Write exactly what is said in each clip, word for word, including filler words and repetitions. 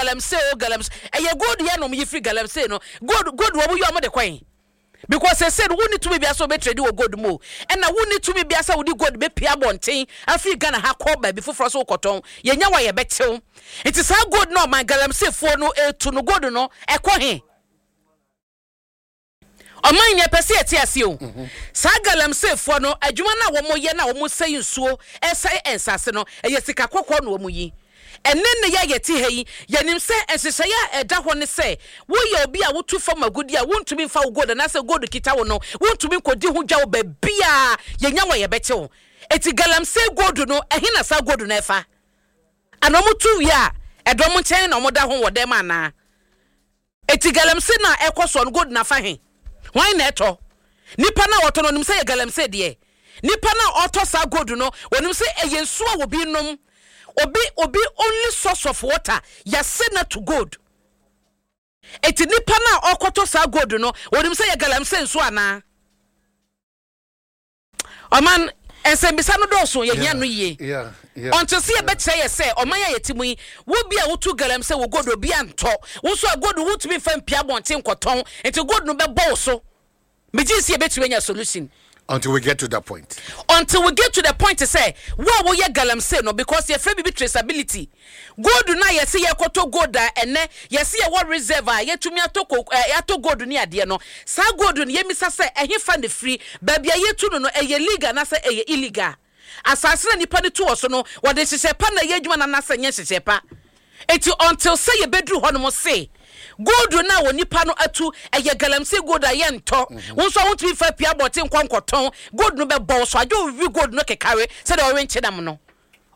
Galamsey o, galamsey, ɛyɛ gold yɛ na ɔmo yi firi galamsey no. Gold, gold wɔn yi, ɔmo de kɔn because sese no, wonni tumi bia sɛ wobɛtrade wɔ gold mu o, ɛna wonni tumi bia sɛ wode gold bɛpia abɔnten afiri Ghana ha kɔ baabi foforɔ so wokɔtɔn. Yɛnya wa yɛbɛkyew. Nti saa gold no, ɔman galamseyfoɔ no etu no, gold no ɛkɔ he? Ɔman yɛ pɛ sɛ yɛte ase o. Saa galamseyfoɔ no adwuma no a wɔn yɛ no a wɔn sɛe nsuo, ɛsɛe nsase no, ɛyɛ sika kɔkɔɔ na wɔn yi. Ɛne ne yɛ yɛte ha yi, yɛnim sɛ nhyehyɛeɛ a ɛda hɔ ne sɛ woyɛ obi a wotu fam agudi a, wontumi mfa wo gold anaasɛ gold kita wo no, wontumi nkɔdi ho dwa wo baabiaa. Yɛnya wɔ yɛbɛkye wo. Eti galamsey gold no, ɛhe na saa gold no ɛfa? Ana ɔmo tu wie a, ɛdɔm nkyɛn na ɔmo da ho wɔ dɛm anaa? Eti galamsey na ɛkɔ soɔ no, gold nafa he? Hwan na ɛtɔ? Nipa na ɔtɔ no, onim sɛ yɛ galamsey deɛ? Nipa na ɔtɔ saa gold no, onim sɛ ɛyɛ nsuo a obi nom, obi obi only source of water yɛsɛ na to gold? Eti nipa na ɔkɔtɔ saa gold no, onim sɛ yɛ galamsey nsuo anaa? Ɔman, nsɛmbisa no dɔɔso, yɛhia no yie. Yeah, yeah. Ɔnte sɛ yɛbɛkyerɛ yɛ sɛ ɔman a yɛte mu yi, wo bi a wotu galamsey wo gold, obi antɔ wo nso a, gold wotumi mfa mpia abɔnten nkɔtɔn, nti gold no bɛbɔ wo so. Megye sɛ yɛbɛtumi anya solution. Until we get to that point. Until we get to the point sɛ wo a woyɛ galamsey no, because yɛfrɛ biribi traceability. Gold no a yɛsɛ yɛkɔtɔ gold a, ɛnɛ yɛsɛ yɛwɔ reserve a yɛtumi atɔ ko ɛɛ yɛatɔ gold ne adeɛ no, saa gold no, yɛmisa sɛ ɛhe fa ne firi? Baabi a yɛtu no no, ɛyɛ legal anaasɛ ɛyɛ illegal? Asase na nipa no tu wɔ so no, wɔde nhyehyɛ pa na ɛyɛ adwuma no anaasɛ nyɛ nhyehyɛ pa? Eti until sɛ yɛbɛduru hɔ nom se gold no a wɔ nipa no atu ɛyɛ galamsey gold a yɛntɔ, wo nso a wontumi fa pia abɔnten nkɔ nkɔtɔn, gold no bɛbɔ wo so agye owi gold no kekare sɛdeɛ ɔwe nkyenam no.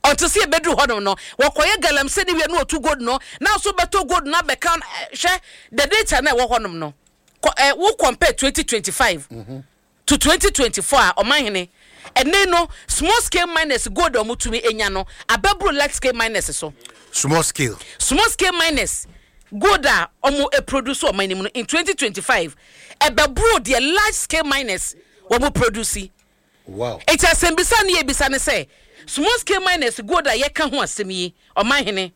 Until sɛ yɛbɛduru hɔ nom no, wɔkɔyɛ galamsey ne wie no, wɔtu gold no na nso bɛtɔ gold no abɛka. Hwɛ the data na ɛwɔ hɔ nom no, kɔ ɛ wo compare twenty twenty five to twenty twenty four a, ɔmanhene, ɛnɛ no small scale miners gold a wɔtumi enya no abɛboro large scale miners so. Small scale. Small scale miners gold a wɔn produce ɔman no mu no in twenty twenty five ɛbɛboro deɛ large scale miners wɔn produce. Wow. Eti asɛmbisa ne yɛbisa ne sɛ, small scale miners gold a yɛka ho asɛm yi, ɔmanhene,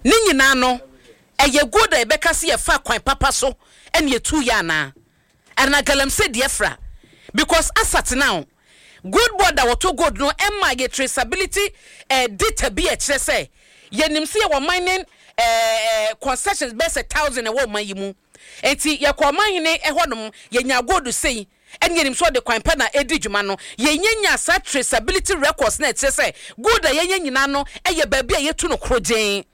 ne nyinaa no ɛyɛ gold a yɛbɛka sɛ yɛfa kwan papa so ɛne yɛtu yɛ anaa ɛna galamsey deɛ fra? Because as at now, Gold Board a wɔtɔ gold no ɛma yɛ traceability eh, data bi a ɛkyerɛ sɛ yɛnim sɛ yɛwɔ mining eh, concessions bɛyɛ sɛ thousand ɛwɔ ɔman yi mu. Nti yɛkɔ ɔmanhene ɛhɔnom, yɛnya gold sei, ɛne yɛnim sɛ ɔde kwan pa na ɛdi dwuma no. Yɛnyɛ saa traceability records na ɛkyerɛ sɛ gold a yɛnyɛ nyinaa no ɛyɛ baabi a yɛtu no koro gyeen.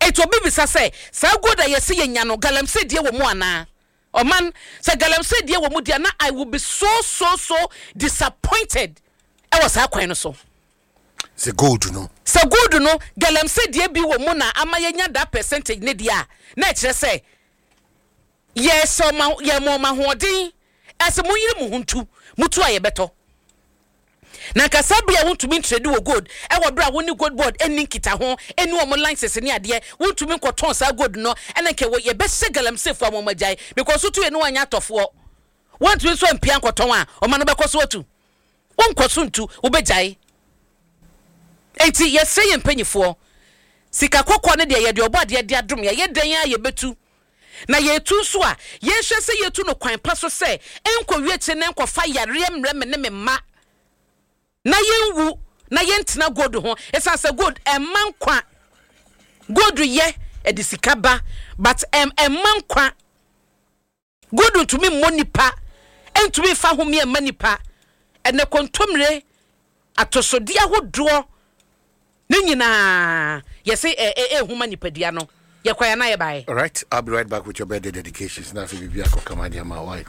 Eti obi bisa sɛ saa gold a yɛsɛ yɛnya no, galamsey deɛ wɔ mu anaa? Ɔman, sɛ galamsey deɛ wɔ mu deɛ na I will be so so so disappointed ɛwɔ saa kwan no so. Sɛ gold no. Sɛ gold no galamsey deɛ bi wɔ mu na ama yɛnya that percentage ne deɛ a, na ɛkyerɛ sɛ yɛsɛ ɔma yɛma ɔma ahoɔden ɛsɛ mo yere mo ho ntu mutu a yɛbɛtɔ. Na nkasa bere a wontumi ntrade wɔ gold ɛwɔ bere a wo ne Gold Board ɛni nkita ho, ɛni wɔn license ne adeɛ, wontumi nkɔtɔn saa gold no, ɛna nkɛ wɔ yɛbɛhyɛ galamseyfoɔ a wɔn agyae, because wotu yɛ no wanya atɔfoɔ, wɔntumi nso mpia nkɔtɔn a, ɔma no bɛkɔ so atu, wonkɔ so ntu, wobɛgyae. Enti yɛsrɛ yɛn mpanyinfoɔ, sika kɔkɔɔ no deɛ, yɛde ɔbɔ adeɛ de adom yɛ, yɛ dan a yɛbɛtu na yɛtu nso a, yɛnhwɛ sɛ yɛtu no kwan pa so sɛ ɛnkɔ wie kyerɛ na nkɔfa yareɛ mmerɛ me ne me mma na yɛnwu na yɛntena gold ho, ɛsiane sɛ gold ɛma nkwa. Gold yɛ ɛde sika ba, but ɛm ɛma nkwa. Gold ntumi mmɔ nipa, ɛntumi nfa homeɛ mma nipa. Ɛnɛ kontomire, atosodeɛ ahodoɔ ne nyinaa yɛsɛ ɛ ɛ ɛhuma nipadua no. Yɛkɔ yɛn na yɛbaeɛ. All right, I'll be right back with your birthday dedications. Now, if you be a why?